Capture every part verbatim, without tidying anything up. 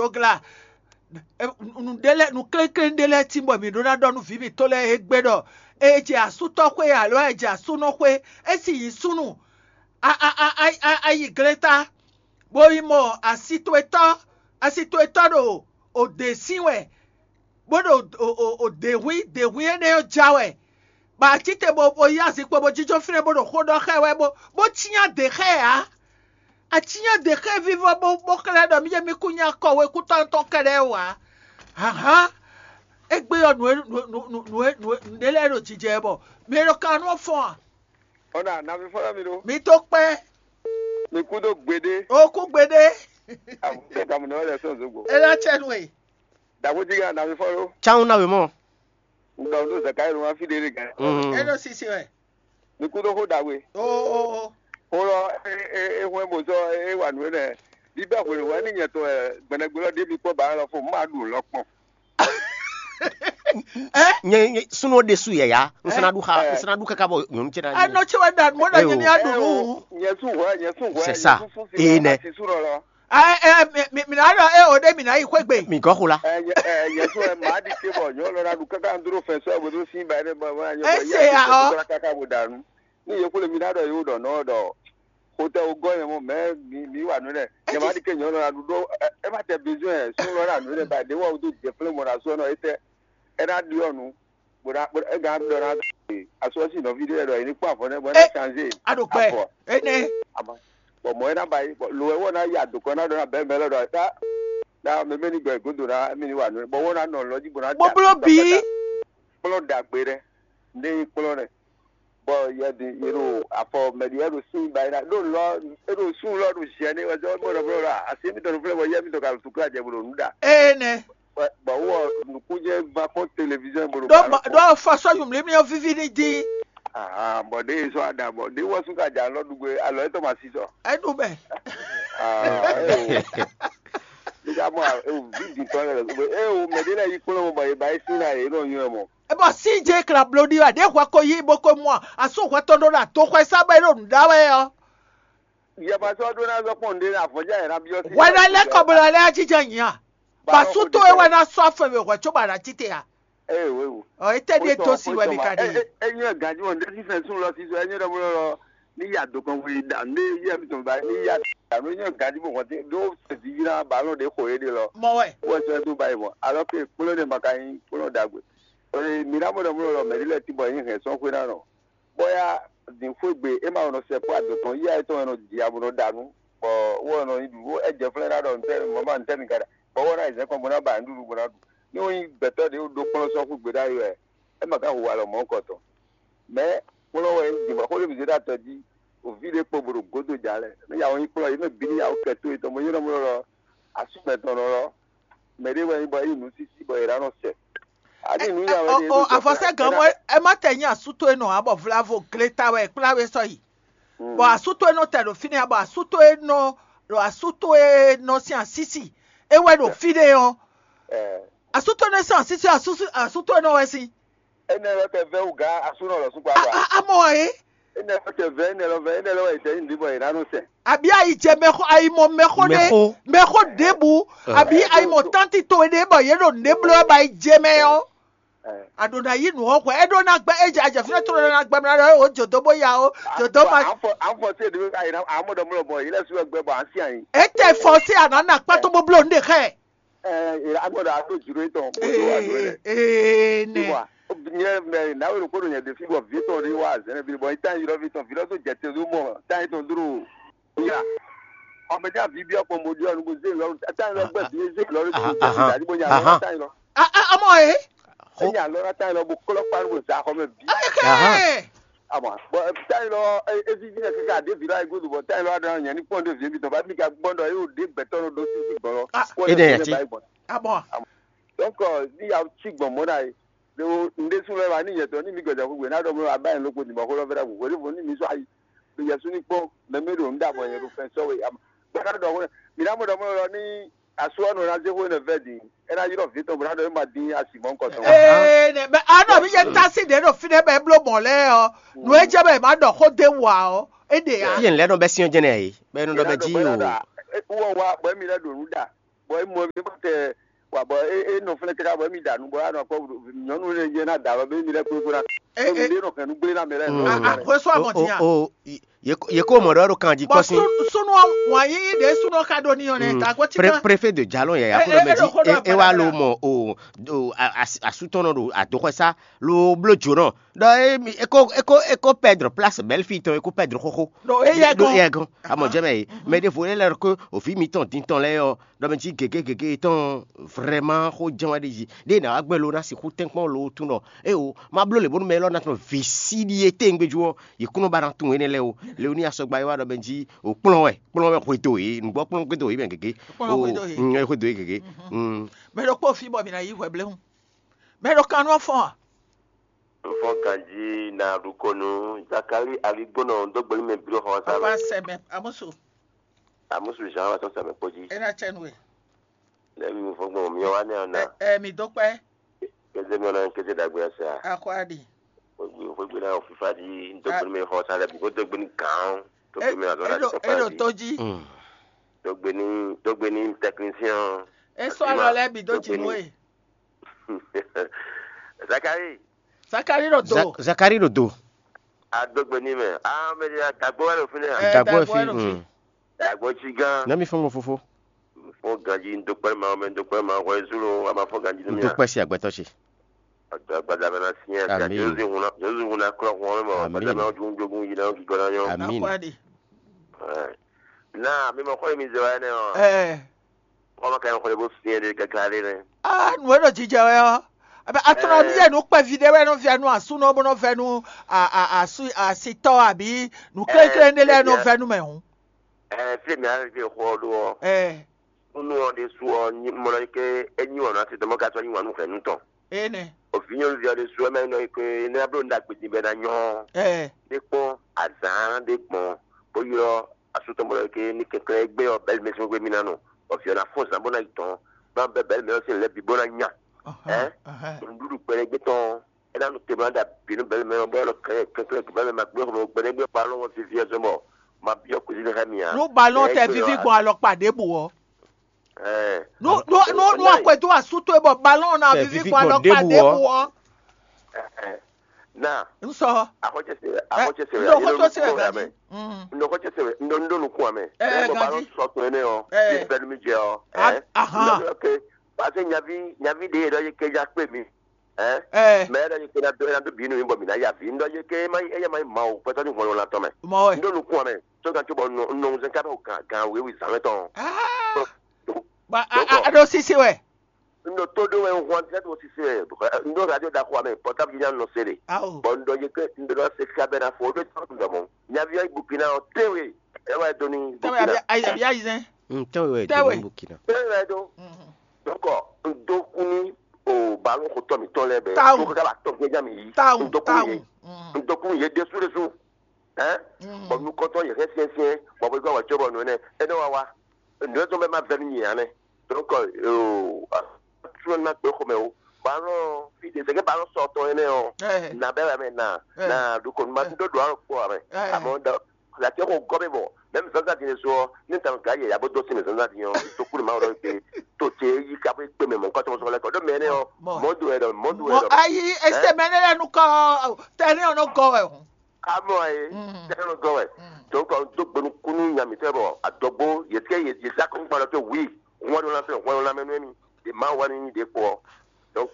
Dogla, nǔɖé lɛ́ɛ, nǔ kléklé ɖé lɛ́ɛ tín bɔ mǐ ɖó ná ɖɔ nú vǐ mǐtɔn lɛ́ɛ égbé ɖɔ: "È jɛ asútɔ́ xwé alo è jɛ asúnɔ xwé, é sì nyí súnnu." A yi gleta, bó yi mɔ asi towe tɔ́, asi towe tɔ́ ɖo òdě sín wɛ, bó ɖo òdě hwín, dě hwín énɛ́ ɔ́ já wɛ. Bɔ a cí te bó yí azinkpo bó jínjɔ́n fínɛ́ bó ɖo xó ɖɔ xá ɛ wɛ, bó cyán dě xá ɛ ǎ. A cyán dě xá ɛ vívɔ́ bó xlɛ́ ɖɔ mí jɛ mí kú nyí akɔwekútɔ́ tɔn kɛ́ɖɛ́ wǎ. Hǎnhán, égbé ɔ́, nǔ e nǔ e nǔ e nǔ e nǔɖé lɛ́ɛ ɖo jijɛ ɛ bɔ mɛ e ɖo kan nú ɔ́ fɔ́n a? Ɔ́ ná navifɔ́nɔ mi ɖó. Mi tó kpɛ́. Mi kú dó gbeɖé. O kú gbeɖé. Àbúkẹ́ kàmú náà lɛ sɔn zogbo. É ná cɛ nú e. Dàgbójì gà navifɔ́nɔ. Cawun ná wě mɔ. Ŋdɔ ɖó zɛkáyé ló wá fí ɖé ɖé gà. É ɖo sisi wɛ. Mi kú dó xó ɖagbe. O o o. Xó lɔ é é é hwɛ́n bó sɔ́ é wa nǔ énɛ́. Bíbɛ́ hwenu wɛ ní nyɛ tɔn wɛ gbɛnɛgbɛ lɔ ɖé mi kpɔ́ ba lɔ fo má ɖu lɔ kpɔn. Nye nye súnú ɖe sú yɛyá. Ŋsɛnɛ ɖu xa ŋsɛnɛ ɖu kaka bɔ nyɔnu cɛ na. Anɔ tse wɛ ɖa mɔ ɖa nyɛ ni aɖu nu. Nyɛ sú hwɛ nyɛ sú hwɛ. C'est ça. Ee nɛ. Ɛ ɛ mi mi na ɖɔ e o ɖe mi na yi xwé gbe. Mi gɔ xo la. Ɛ nyɛ ɛ nyɛ sú ɛ maa ɖi te bɔ nyɔ lɔ na ɖu kaka n dúró fɛn sɔ ɛ bó tó sí ba ɛ bɔ ɛ nyɛ bɔ Ese yɛ ya ɔ. Kaka bó dànù. Ní yẹ kúlẹ̀ mi ná ɖɔ yóò ɖɔ nɔ ɖɔ xotɛ wo gɔ́ yẹn mɔ mɛ mi mi wà nù nɛ. Nyɛ maa ɖi ke nyɔ lɔ na ɖu ɖó ɛ ma tɛ besoin ɛ sún lɔ na nù nɛ ba ɖe wɔ wo tó jɛ flɛ mɔ na sɔ nɔ etɛ ɛ na ɖi ɔ nu. Bó ná bó ná égán ɖɔ ná asɔ́sí nɔví ɖé ɖɔ yě ní kpɔ́n avɔ nɛ́ bɔ é ná change. Aɖo gbɛ énɛ́. Bɔn mɔ̌ é ná ba yi bɔ lo ɛ wɔ ná yi adokɔ ná ɖɔ ná bɛ́ mɛ lɔ ɖɔ tá ná mɛ mɛ ní gbɛ gúdo ná mí ní wa nǔ bɔ wɔ ná nɔ lɔ jí bó ná. Bóbló bǐ. Kplɔ́n ɖagbe ɖɛ ndé nyí kplɔ́n nɛ bɔ yɛ ɖi yɛ ɖo afɔ mɛ ɖi yɛ ɖo sín ba yi ná ɖo lɔ é ɖo sún lɔ ɖo ziɛ ní wɛ zɔ bó ɖɔ bó ɖɔ asi mi tɔn fúnɛ bɔ yɛ mi tɔn ka tukla jɛ bó ɖo nǔ ɖa. Énɛ́. Bɔ wɔ nukúnjɛ va kpɔn télévision bolo. Ɖɔ ɖɔ fɔ sɔ yumlí mi ɔ vivi ní dín. Bɔ ɖe sɔ aɖa bɔ ɖe wɔ sún ka dza lɔ ɖugbe alɔ etɔ ma si sɔ. Ɛnu mɛ. Nígbà mɔ ewu vi di tɔn lɛ lɛ ewu mɛ ɖe lɛ yi kplɔn mɔ bɔ e ba e sin na yɛ e nɔ nyɔ mɔ. Ebɔ si dze kla blo ɖi wɛ ɖe hwɛ ko yi bo ko mɔ asu hwɛ tɔn ɖo na to xwɛ sa bɛ ɖo nǔ ɖa wɛ ɔ. Yɛbasɔ ɖó ná zɔ kpɔn ɖe avɔjá yɛ ná byɔ́ sí. Hwɛ ná lɛ kɔ blo lɛ ajijɛ nyi a. Basu to e wɛ ná sɔ afɔ mi hwɛ tso ba na tite a. Ee wewu. Ɔ ete ɖe to si wɛ mi ka ɖe. Enyi ɛ ganji wɔn ɖe sísɛ sun lɔ sísɔ enyi ɖɔ mlɔ lɔ ní yà dó kɔn wuli da ní yɛ mi tɔn ba ní yà da ní yɛ ganji bɔ wɔn ti ɖó sɛdí yìí náà balɔn ɖe xɔ yé ɖe lɔ. Mɔ wɛ. Wɔ sɛ tó ba yi mɔ alɔ ke kplɔn ɖe ma ka nyi kplɔn dagbe. Ee mi ná mɔ ɖɔ mlɔ lɔ mɛ ɖi lɛ ti bɔ nyi hɛn sɔn xwe ná nɔ. Bɔ ya din xwé gbe é ma nɔ sɛ kpó adɔtɔn yíyá yětɔn wɛ nɔ ji abo nɔ ɖa nú, bɔ wó wɛ nɔ nyi ɖu bó é jɛ flɛ́n ná ɖɔ ntɛ́ mama ntɛ́ mi ka ɖa, bɔ wó ná yi zɛ̌n kɔn bó ná ba nǔɖuɖu bó ná ɖu. Ní wọ́n nyí gbɛtɔ́ ɖě ɖó kplɔ́n sɔ́ xwé gbe ɖ'ayǐ wɛ, é ma ka hu alɔ mɔ̌ kɔ tɔn. Mɛ̌ kplɔ́n wɛ nyí din bɔ xó ɖé bǐ zé ɖo atɔ jí, o vǐ ɖé kpo bó ɖo gǒdo jà lɛ, ní yà wɔ nyí kplɔ́n yě mɛ bǐ ní yà wɔ kɛ tó yětɔn bó nyí nɔ mlɔ́ lɔ asú mɛtɔn nɔ lɔ, mɛ ɖé wɛ nyí bɔ é yi nǔ sísí bɔ è ɖǎ nɔ sɛ. Àní nǔ ya wɛ ní é ɖó avɔsɛ gan mɔ ɛ má tɛ nyi asútó e nɔ abɔ vlavo gleta wɛ kplá wɛ sɔ yi. Bɔ asútó e nɔ tɛ ɖo fínɛ́ bɔ asútó e nɔ ɖo asútó e nɔ sín asísi é wɛ ɖo fínɛ́ ɔ́. Asútó e nɔ sín asísi asútó e nɔ wɛ sín. Énɛ́ lɔ tɛ vɛ́ wú gǎ asúnɔ lɔ sún kpá. Amɔ wɛ é. Énɛ́ lɔ tɛ vɛ́ énɛ́ lɔ vɛ́ énɛ́ lɔ wɛ è tɛ nyi bɔ è nǎ nɔ sɛn. Àbí ayi jɛ mɛxó ayi mɔ mɛxó ɖé mɛxó ɖěbǔ àbí ayi mɔ tánti towe ɖé bɔ yě ɖo nǔɖé bló wɛ bɔ ayi jɛ mɛ ɔ́. A ɖǒ ná yí nǔ ɔ́ hwɛ é ɖó ná gbɛ é jɛ ajɛfínɛ́ tló ná gbɛ mlá ɖɔ ó jǒdó bó ya ó jǒdó ma. An fɔ an fɔ se ɖe ayi na amɔ ɖɔ mlɔ bɔ yi lɛ su gbɛ bɔ an si anyi. É tɛ fɔ sí àná nà kpá tó bó bló nǔɖé xɛ. Ɛ an gbɔdɔ a ɖó juro etɔn bó tó wa do lɛ. Ee ne. Nyɛ mɛ nawe ɖo kpóɖo nyɛ ɖefi bɔ vi tɔn ɖe wa zɛnɛ bi bɔ yi tan yi lɔ vi tɔn vi lɔ tó jɛ te ɖó mɔ tan yi tɔn dúró. Ya. Ɔmɛ ní avi bí ọkọ mo di ọnu bó zé lọ tá lọ gbẹ bí zé lọ rí bó zé lọ rí bó nya lọ tá lọ. Ọmọ ẹ. Ẹ nya lọ tá lọ bó kọlọ pa bó zà xɔ mẹ bí. Ọmọ bọ tá lọ evi jí ẹ kẹkẹ adé vi láyé gbódò bọ tá lọ adé yẹn ní pọ́n dé vi mi tọ́ bá mi ka gbọ́n dọ̀ yóò dé gbẹ̀tọ́ ló dó sí sí gbọ́n lọ. Ede yẹn ti. Abọ. Donc ní ya tí gbọ̀n mọ́ náà yìí. Ndé sún lọ́wọ́ ní yẹtọ̀ ní mi gbẹ̀dẹ̀ gbogbo náà dọ̀ mọ́ abáyé lóko ní bọ̀ kó lọ́ fẹ́rẹ́ gbogbo ní fún ní mi sọ ayé. Yɛsu ní kpɔ́n mɛ mɛ ɖo ŋɖa bɔ yɛ ɖo fɛn sɔ́ we ama. Gbɛdá ɖɔ hwɛ mi ná mɔ ɖɔ mɔ ɖɔ ní asu ɔnɔ ná zé hwé nɛ vɛ din. É ná yrɔ vǐ tɔn bó ná ɖɔ é ma dín asi mɔ̌ kɔtɔn. Ee nɛ bɛ anɔ mi yɛ tasi ɖe ɖo fi ɖe bɛ bló mɔ lɛ ɔ. Nú é jɛ bɛ ma ɖɔ xó dé wa ɔ. É ɖe ya. Yɛn lɛ nɔ bɛ siɔn jɛnɛ yi. Bɛ nɔ ɖɔ bɛ ji o. Wɔ wa bɔ mi lɛ ɖo nu ɖa. bɔ é mɔ mi bɔ tɛ wa bɔ é é nɔ fɛnɛ káká bɔ émi ɖa nǔ bɔ anɔ kɔ nyɔnu lɛ jɛ ná da bɔ bɛ mi lɛ kpékpé ná. E Ɖo e nǔɖé nɔ hɛn nú gblé ná mɛ lɛ nɔ. Mm. Àkóso O àmọ̀tí o hàn. O ye ko ye ko mɔ ɖɔ ɖo kan jí Bɔn kɔsi. Súnú wǎn yíyí ɖě súnú ká ɖó ní ɔ́ nɛ Mm. tàgó tí Pre- ká. Préfet de Jalon yɛ E- yakó e- ɖɔ mɛ e ɖo xó ɖɔ jí e wa lo agbára mɔ o o a- as- asutɔnɔ ɖo adoxɔsa lo bló jonɔ ɖɔ emi eko eko eko pɛdr place bɛlfi tɔn eko pɛdr xoxo. Ɖo e yɛ Ɖo gɔn. Yɛ gɔn amɔ jɛ mɛ yi mɛ ɖe vo lɛ lɛ ko ovi mitɔn dintɔn lɛ yɔ ɖɔ mɛ jí gege gege tɔn vraiment xo jɛn wa ɖe jí ɖe na wa gbɛ lo na si xu tɛnkpɔn lo tun nɔ e o ma blo le bonu mɛ lɔ na tɔn visi ɖi e te ngbe ju ɔ yi kunɔ ba na tun ene lɛ o le o ni asɔgba yi wa ɖɔ mɛ jí o kplɔn wɛ kplɔn wɛ xwe do yi nugbɔ kplɔn gbe do yi mɛ gege Kplɔn o xwe do yi. Mm, xwe do yi gege. Mm. Mɛ ɖokpó fi bɔ mi na yi hwɛblɛ́hún. Mɛ ɖo kan nú ɔ́ fɔ́n a? Nfɔ́n ganjí na ɖukɔnu Zakali aligbónɔ dógbelí mɛ bíró xɔ sa Papa mɛ. Sɛmɛ amusu. Amusu Jean wa sɔn sɛmɛ kpó jí. Ena tsɛnu we. Lɛmi fɔgbɔn mi wa ne ana. Ɛ ɛ mi dó kpɛ. Keze mi ona keze dagbe asa. Akɔadi. Fɔgbe fɔgbe na ofifa di dógbelí mɛ xɔ sa lɛ bi ko dógbelí kan. Dógbelí mɛ azɔ la Eɖo ti eɖo papa di. Tó jí. Mm. Dógbelí dógbelí technicien. Esɔ alɔ lɛ bi dó dzi nú e. Zakari, Zakari ɖo do. Za- Zakari ɖo do. Adógbe ní mɛ. Ah, mɛ ɖe dagbo wɛ ɖo fínɛ́ a? Ɛ, Dagbo dagbo fi. Wɛ ɖo fi. Mm. Dagbo tsi gán. Nami fɔn mo fofo. Fún ganji ń dúpẹ́ máa mẹ́ ń dúpẹ́ máa wọ ẹzú ló wà máa fún ganji ní mi. Dúpẹ́ sí àgbẹ̀tọ́ ṣe. Ọ̀dọ̀ àgbàdo abẹ́rẹ́ sí ẹ̀ sí àti Àmín. Jésù ìhun náà Jésù ìhun náà kúrọ̀ fún wọn mọ̀ Àmín. Ọ̀dọ̀ náà ojú ń jogún yìí náà kíkọ́ náà yọ. Àmín. Akwadi. Ẹ̀. Náà mímọ kọ́ èmi zọ ẹ náà. Ẹ. Kọ́mọ kẹ́ ń kọ́lé bó fi ẹ̀ lé gàgà lé rẹ̀. Ah, nù é ɖo jijɛ wɛ ɔ. Abe atrɔ mi yɛ nu kpɛvi ɖe wɛ nɔ via nu asu nɔ bó nɔ vɛ nu a a asu asitɔ abi nu kléklékle ɖe lɛ nɔ vɛ nu mɛ hǔn. Ɛ fi mi ari fi xɔ ɖo ɔ. Ɛ. Nunu ɔ ɖe su ɔ mɔ ɖɔ ke enyi wɔn ati tɔmɔ ka sɔ nyi wɔn nu hɛn nu tɔn. Ene. Ovi nyɔnu vi ɔ ɖe su ɛmɛ nɔ ke ne ablo nda gbedi bɛ na nyɔ. Ɛ. Ɖe kpɔn azan ɖe gbɔn bó ylɔ asutɔ mɔ ɖɔ ke ní kɛnklɛn gbé ɔ bɛli mɛ sɔn gbé mi na nɔ. Ɔfi ɔ na fɔn zan bó na yi tɔn. Bá bɛ bɛli mɛ ɔ sin lɛ bi bó na nya. Ɛ. Nuɖuɖu kpɛɖɛ gbé tɔn. Ena nu te ma da binu bɛlɛ mɛ bɔ lɔ kɛ kɛkɛ bɛlɛ ma gbé xɔmɛ gbɛdɛ gbé kpa lɔ vivi ɛzɔ mɔ ma biɔ kuzi ne xɛ mia. Nu balɔn tɛ vivi gbɔn alɔkpa ɖěbǔ ɔ. Ɛɛ. Nu nu nu nu akwɛdo asu to bɔ balɔn na Tɛ vivi vivi gbɔn gbɔn alɔkpa ɖěbǔ ɔ. Ɖěbǔ ɔ. Na N sɔ. Akɔtsɛ se akɔtsɛ se N ɖo xɔtɔ se wɛ ganji. N ɖo xɔtsɛ se wɛ n ɖo n ɖo nukun amɛ. Ɛɛ, Ɛ bɔ balɔn ganji. Sɔ to ɛnɛ ɔ. Ɛɛ. Fi bɛnu mi jɛ ɔ. A- Ɛɛ. Ahan. N ɖɔ ok. Parce que nyavi nyavi ɖe yɛ ɖɔ yi kɛja kpe mi. Ɛ. Ɛɛ. Mɛ ɖɔ yi kɛja do ɛna do bi nu mi bɔ mi na ya vi. N ɖɔ yi ke ma yi eya ma yi ma o pɛtɔ ni hɔn la tɔn mɛ. Mɔ wɛ. N ɖo nukun amɛ. To kan to bɔ nɔ nɔ zɛn ka bɛ gan gan wewe zan mɛ tɔn. Aa. Ba a a a ɖo sisi wɛ. N ɖo to ɖo wɛ n hɔn tɛ to sisi wɛ. N ɖo radio da xɔ amɛ pɔtabu nya nɔ se de. Awo. Bɔn n ɖɔ yi ke n ɖo se ka bɛ na fo o ɖo tɔn dɔ mɔ. Nyavi yi Burkina o te we. E wa do ni Tɛwɛ Burkina. Abi ayi ayi zɛn. Mm, tɛwɛ wɛ Tɛwɛ. Doni Burkina. Te wɛ do. Mhm. Donc n do kun ni o balon xotɔ mi tɔn lɛ bɛ. Tawu. To ka ba tɔn gɛnja mi yi. Tawu, N do kun tawu. Ye. Mm. N do kun ye de su de su. Hein? Mm. Bɔn nu kɔntɔn yɛ hɛn fiɛnfiɛn bɔn bɛ gbɛ wà jɔ bɔ nɔ nɛ ɛnɛ wa wa nɔ ɛtɔ bɛ ma vɛ nu nyɛ anɛ donc euh tu ma gbɛ xɔmɛ o balɔn fi de sɛgɛ balɔn sɔtɔ ɛnɛ ɔ Eh. Na bɛ wà mɛ na Eh. Na du kɔni ma do do alɔ kpɔ wà mɛ Eh. Amɔ da la tɛ ko gɔ bɛ bɔ mɛ mi zanzan di ne so ɔ ne ta ga yɛ yabo dɔ si mɛ zanzan di ɔ to kuli ma wɛrɛ pe to tse yi ka bɛ kpe mɛ mɔ kɔtɔ sɔgɔ lɛ kɔ do mɛ ne ɔ Mɔ. Mɔ do yɛ dɔ mɔ do yɛ Mɔ dɔ ayi ese mɛ ne lɛ nu kɔ tɛ ne ɔ nɔ gɔ wɛ o. Amɔ ye Mm. Tɛnɛ gɔ wɛ Mm. Donc do gbenu kunu nya mi tɛ bɔ adɔgbo yetike ye ye sa kun kpalɔ ke wi wọn do la fɛ wọn do la mɛ nu mi de ma wa ni de kpɔ donc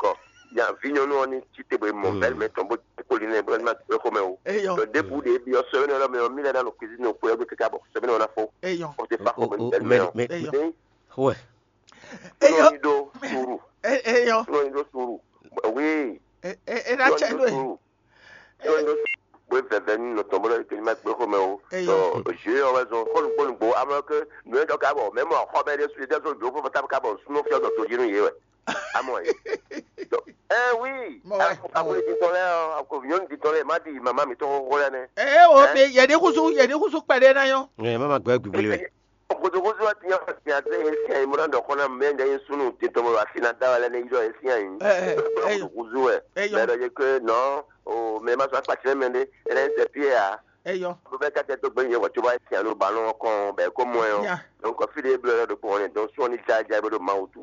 ya vi nyɔnu ɔ ni ti te bo mɔ Mm. Bɛli mɛ tɔn bo koli nɛ bo ma to xɔ mɛ o Eyɔ. Donc de bu de bi ɔsɔ yɛ ne lɔ mɛ mi lɛ na no cuisine o kpɛ o keka bɔ sɛbɛn na fo Eyɔ. O te fa xɔ mɛ O- o- bɛli mɛ mɛ- o mɛ- Eyɔ. Wɛ. Eyɔ. Nɔ ni do suru E- Eyɔ. Nɔ ni do suru oui E- e- E na Nɔ ni tsɛ do do e. Suru. Bó vɛvɛ ní nɔ tɔn bó lɔ kɛ ní ma gbé xomɛ o. Eyɔ. Tɔ jeu ɔ wɛ zɔn kɔnu kpɔnu gbo amlɔ ke nuyɛ dɔ ka bɔ mɛ mɔ xɔ bɛ ɖe su ɖe sɔ jo fɔ fɔ tabu ka bɔ sunɔ fiɔ dɔ to yinu ye wɛ. Amɔ ye. Ɛ wi. Mɔ wɛ. Akɔni ti tɔn lɛ ɔ akɔni nyɔnu ti tɔn lɛ ma di mama mi tɔn xɔxɔ lɛ nɛ. Ee o Ɛ? Be yɛdi kusu yɛdi kusu kpɛɖe na yɔ. Ɛ má ma gbɛ gbigbli wɛ. Kutukutu wa tiɲɛ wa tiɲɛ ase ye sian yi mura dɔ kɔnɔ mɛ nda ye sunu titɔn wa fina da wa lɛ ne yidɔ ye sian yi. Ɛ, ɛ, ɛ, Kutukutu wɛ. Ɛ, yɔ. Mɛ dɔ ye ke nɔ o mɛ ma sɔ akpatsɛ mɛ de ɛnɛ sɛ pie ya. Eyɔ. Bó bɛ kákẹ́ tó gbé yẹn wɔ tó bá tiẹ̀ ló ba lọ́wọ́ kàn bẹ́ẹ̀ kó mọ́ ẹ ọ́. Ya. Donc fí ɖé bló yɔrɔ ɖokpó ɔnɛ donc sɔ́ ní jájá bó ɖo Mawu tú.